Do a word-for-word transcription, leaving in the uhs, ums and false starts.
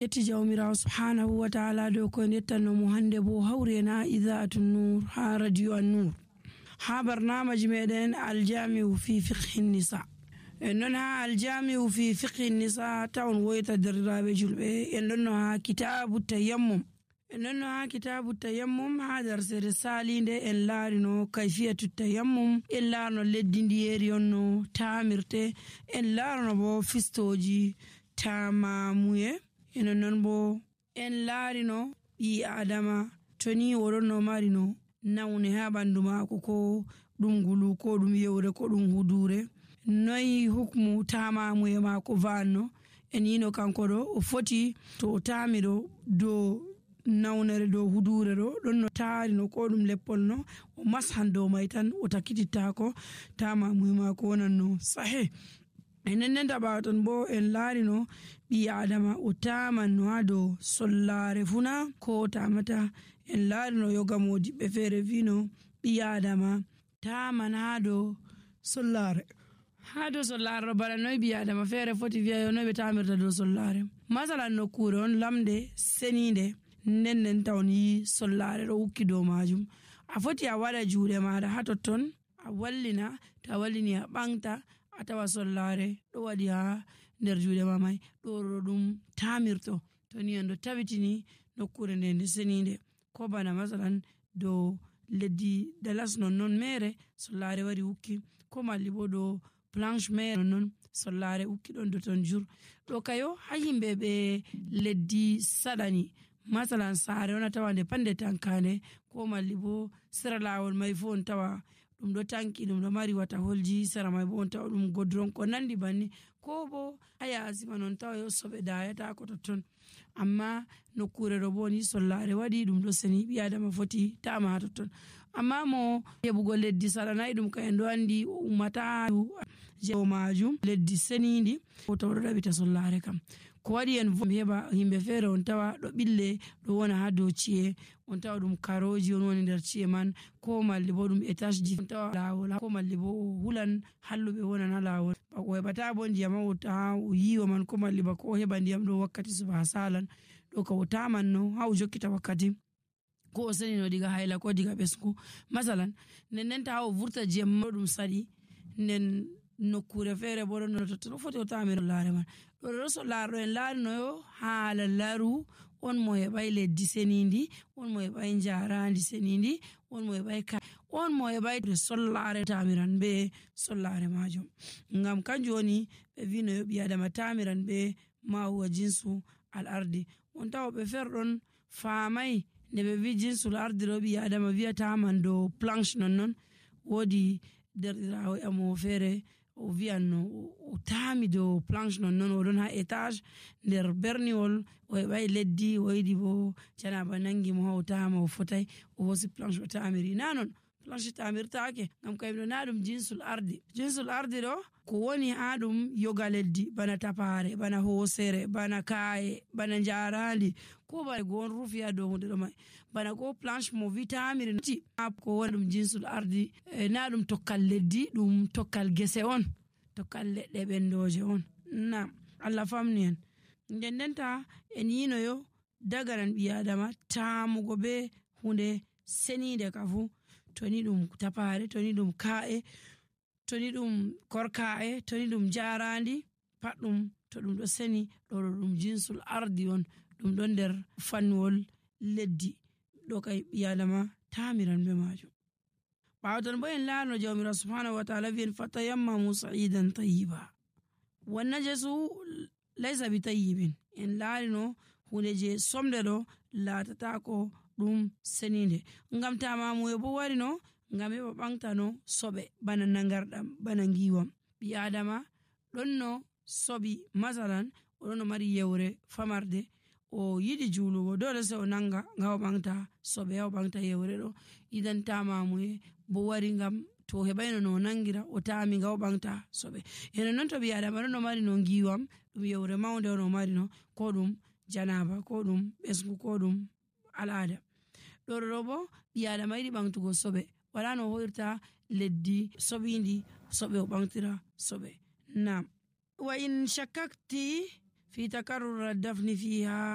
yetti jawmirawo subhanahu wa ta'ala do ko nettanno mo hande bo hawre na idaatun nur ha radio an-nur ha barnamaji meɗen aljami'u fi fiqhi nisa. En non ha aljami'u fi fiqhi nisa tawon woyta derrabe julbe en non ha kitabu tayammum en non ha kitabu tayammum ha darsere salinde en laarino kayfiyatu tayammum en laarno leddi ndiyeri onno tamirte en laarno bo fistoji tamamuye en non bo en laarino bi adama toni woronno marino nawne ha bandu mako ko dum gulu ko dum yewre ko dum hudure noyi hukmu tamamuye mako vanno en yino kanko do o foti to o tamiro do nawnere do hudure do don no taarino ko dum leppol no o mashan do may tan o takititta ko tamamuye mako wonanno sahih. enen nen tabaton bo en laarino bi adama o tamanno ha do sollare funa ko tamata en laarino yogamodi be fere vino bi adama taman ha do sollare ha do sollare bala noy bi adama fere foti viya no be tamirta do sollare masalan no kure on lamde seninde nen nen tawni sollare do hukki do majum a foti a wada juude maada ha totton a wallina ta wallini a bangta atawa sollare do wadi ha nder juude mamay do dum tamirto to ni ando tabitini nokkure nde seninde ko bana masalan do leddi dalas non non mere sollare wari hukki ko malli bo do planche mere non sollare hukki don do ton jur do kayo ha himbe be leddi sadani masalan saare ona tawande pande tankane ko malli bo sera lawol may fon tawa dum do tanki dum do mari wata holji sera may bo on tawa dum godron ko nandi banni ko bo aya asima non tawa yo sobe dayata ko ton amma nokkure do boni sollare wadi dum do seni bi adama foti tama to ton amma mo hebugo leddi saranay dum ka en do andi ummata jewo majum leddi senindi ko to do dabita sollare kam ko wadi en heba himbe fere on tawa do bille do wona ha do ci'e on tawa dum karoji on woni der ci'e man ko malli bo dum etage ji tawa lawol ko malli bo hulan hallube wona na lawol ba ko hebata bo ndiyam o ta o yiwo man ko malli ba ko heba ndiyam do wakkati suba salan do ka wota man no ha o jokkita wakkati ko seni no diga hayla ko diga besku masalan nen ta o vurta jemmo dum sadi nen nokkure fere bo no to foti o tamiro laare man do do so laaro en laarino yo haala laru on mo e bay leddi senindi on mo e bay njaarandi senindi on mo e bay ka on mo e bay sollare tamiran be sollare majum ngam kanjum woni be vino yo bi adama tamiran be ma huwa jinsu al ardi on taw be ferdon faamay ne be vi jinsu al ardi ro bi adama viya taman do planche non non wodi derdirawo amo fere o vianno o tami do planche non non o don ha etage nder berniwol o e bay leddi o yidi bo canaba nangi mo o tama o fotay o hosi planche o tamiri nanon planche tamirtaake ngam kayno nadum jinsul ardi jinsul ardi do ko woni adum yoga leddi bana tapare bana hosere bana kaaye bana njaarandi ko ba gon rufiya do hunde do may bana ko planche mo vitamiri ti ko woni dum jinsul ardi e nadum tokkal leddi dum tokkal gese on tokkal ledde bendoje on na Allah famni en ndendenta en yino yo dagaran bi adama tamugo be hunde senide kafu toni dum tapare toni dum kaaye toni dum korkaaye toni dum jarandi paddum to dum do seni do dum jinsul ardi on dum don der fanwol leddi do kay biyadama tamiran be majum bawton bo en laano jawmira subhanahu wa ta'ala vien fatayammamu sa'idan tayyiba wannan jesu laysa bi tayyibin en laarino hunde je somde do latata ko dum seninde ngam tamamu e bo warino ngam e bangtano sobe bana nangardam bana ngiwam bi adama donno sobi masalan odono mari yewre famarde o yidi julugo dole se o nanga ngaw bangta sobe o bangta yewre do idan tamamu e bo wari ngam to hebayno no nangira o tami ngaw bangta sobe eno non to bi adama no mari no ngiwam dum yewre mawnde no mari no ko dum janaba ko dum besgu ko dum alada do robo bi adama yidi bangtugo sobe wala no hoyrta leddi sobindi sobe o bangtira sobe nam wa in shakakti في تكرر الدفن فيها